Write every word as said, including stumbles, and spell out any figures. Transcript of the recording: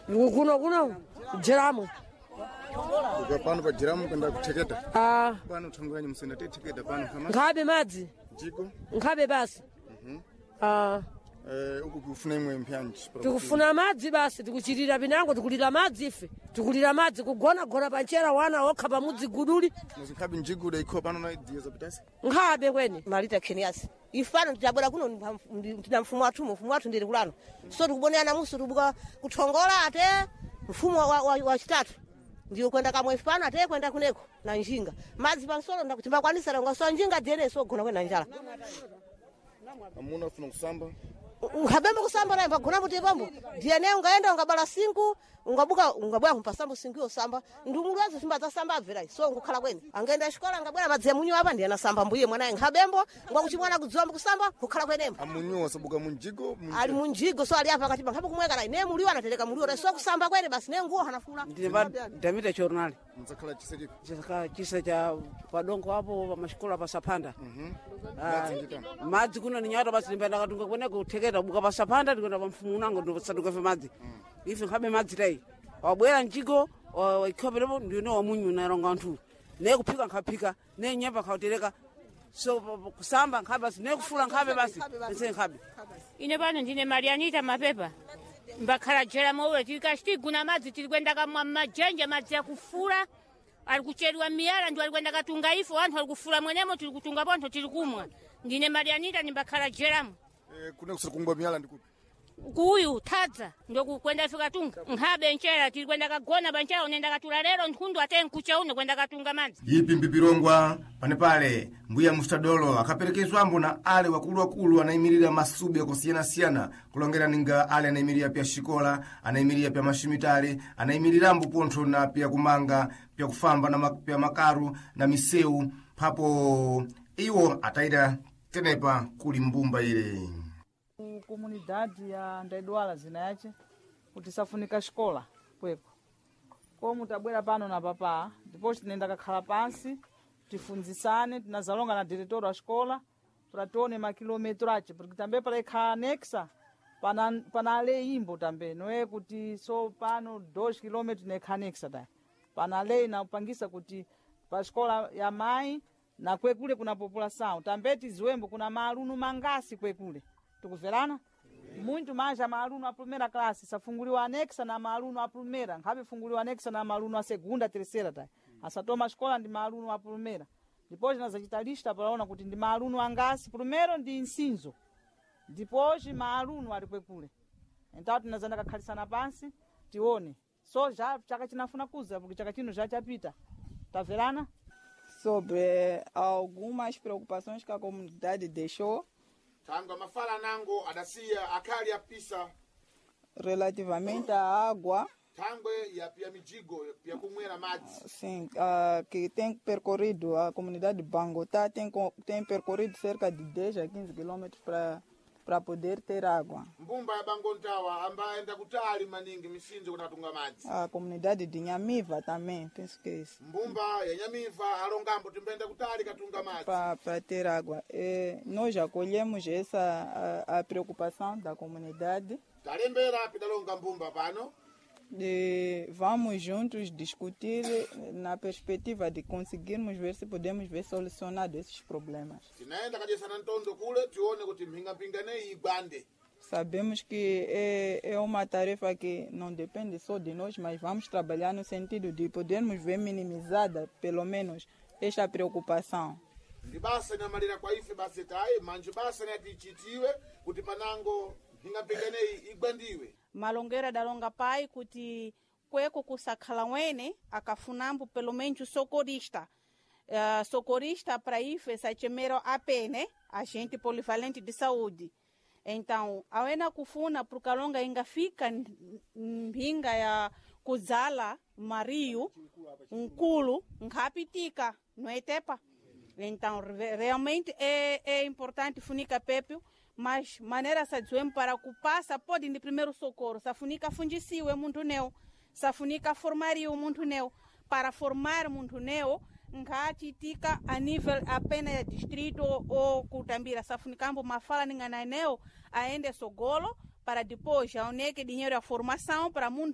Kuno kuno jeramo. Uka pano pa jiramu kwenda kutheketa. Ah, Pano thangwanyi musenda tetheketa pano kama nkhabe madzi. jiko. Nkhabe basi. Ah, Eh uku kufuna imwe mpyanji. tikufuna madzi basi tikuchirira pinango tikulira madzi ife. Tikulira madzi kugona gona panchera wana okha pamudzi guduli. Muzinkhabe njiguda ikho pano na idiya zapitasi. Nkhabe kwene. Malita Keniasi ifano titabwera kuno tina mfumo wathu mfumo wathu ndili kulano so tikuboneana musu tubuka kuthongola ate mfumo wa, wa, wa chitatu ndiyo kwenda kamwe ifano ate kwenda kuneko na njinga madzi pansolo ndakuti longa so njinga diyene so gona kwena njala Amuna ufuna kusamba. nkhabembe kusamba naye mbagona kuti pambo diyene ungaenda ungabala sinku ungabuka ungabwera kumpasambo sinku yosamba ndumulwazi simba zasamba abvera so ngukhala kwene angaenda xikola angabwera madzi amunyu apa ndiye anasamba mbuye mwanaye nkhabembo ngwakuti mwana kudziwamba kusamba kukhala kwenembo Amunyu wasabuka munjigo. munjira. ali munjigo so ali apa kati pankhapo kumweka naye ne muliwo anatereka muliwo so kusamba kwene basi ne nguwo hanafula Ndine pa Damita Journal Mudzakhala chiseki. chaka chisa cha padongo apo pamashikola pasapanda. Ah, Madzi nditani. Madzi kuno ni nyata basi ndimba ndakatunga kweneko kutheketa buka pasapanda ndikwenda pa mfumu unango ndisaduka fe madzi. Ife nkhabe madzi tayi. Wabwera mjigo waikhoperepo ndine wamunyu naronga anthu. Ne kuphika nkaphika, ne nyemba nkautereka. So pa- pa- kusamba nkhabe basi, ne kufula nkhabe basi, nse nkhabe. Ine pano ndine Marianita Mapepa mbakhala jera mowe tilikacitiguna madzi tili kwenda kamwa mmajenje madzi akufula ali kucheriwa miyala ndio ali kwenda katunga ifo anthu ali kufula mwenemo tili kutunga pontho tili kumwa ndine Marianita ndimbakhala jeramo Eh kune kusiri kungwa miyala ndikupi. kuyu thadza ndokukwenda ife katunga nkhabe nchera tili kwenda kagona panchera unenda katula lero nkhundu ate nkucha uno kwenda katunga madzi Ipi mpipirongwa panepale mbuya mustadolo akaperekezwambo na ale wakuluwakulu anayimirira masubi akosiyanasiyana kulongera ninga ale anayimirira pya xikola anayimirira pya mashimitale anayimirirambo pontho na pya kumanga pya kufamba na ma- pya makaru na misewu phapo iwo atayita tenepa kuli mbumba ile ku comunidade ya Ndaidwala zina yace kuti safunika xikola kweko komu tabwera pano na papa ndipo tinenda kakhala pansi tifunzisane tinazalonga na diretor wa xikola para tione makilometro ace porque tambe para ikhala anexa pana, pana lei imbo tambe não é kuti so pano dois quilômetros nekha anexa ta pana lei napangisa kuti pa xikola ya mai na kwekule kuna população tambe tiziwembo kuna maaluno mangasi kwekule tikuverana muito mais a maaluno a primeira classe safunguliwa anexa na maaluno a primeira nkhabe funguliwa anexa na maaluno a segunda terceira ta asatoma xikola ndi maaluno a primeira depois nazacita lista palaona kuti ndi maaluno angasi primeiro ndi nsinzo depois maaluno ali kwekule então tinazanda kakhalisana pansi tione so já chaka chinafuna kuza porque chaka chino já chapita taverana sobre algumas preocupações que a comunidade deixou thangwe mafala nango adasiya akhali apisa relativamente à água, thangwe yapia mijigo yakumwera madzi sim, ah, que tem percorrido, a comunidade de Bangotá tem, co- tem percorrido cerca de dez a quinze quilômetros para para poder ter água. mbumba ya bangontawa ambayenda kutali maningi misinzo kuti atunga madzi A comunidade de Nhamiva também, penso que é isso. mbumba ya nyamiva alongambo timbayenda kutali katunga madzi Para ter água. E nós já colhemos essa a, a preocupação da comunidade. talembera pidalonga mbumba pano E vamos juntos discutir na perspectiva de conseguirmos ver se podemos ver solucionado esses problemas. tinayenda kadyesana ntondo kule tione kuti mphingapinga neyi igwande Sabemos que é, é uma tarefa que não depende só de nós, mas vamos trabalhar no sentido de podermos ver minimizada, pelo menos, esta preocupação. ndi basa inamalira kwa ife basi tayi manje basa natichitiwe kuti panango mphingapinga neyi igwandiwe Malongero adalonga pai kuti kweko kusakhala wene akafunambo pelo menos o socorrista. Uh, socorrista para ife sachemero A P, né? Agente polivalente de saúde. Então, awena kufuna prokalonga inga fika n- mphinga ya kudzala mariyo nkulu nkhapitika noetepa. Então, re- realmente é, é importante funica pepio, mas maneira sadziwemo para kupassa pode de primeiro socorro. Safunica fundisiwe munthu neu, safunica formaria o munthu neu. Para formar munthu neu, nkhachitika a nível apenas ya distrito ou kutambira. Safunicambo mafala ningana neu aende sogolo para depois aoneke dinheiro ya formação para munthu.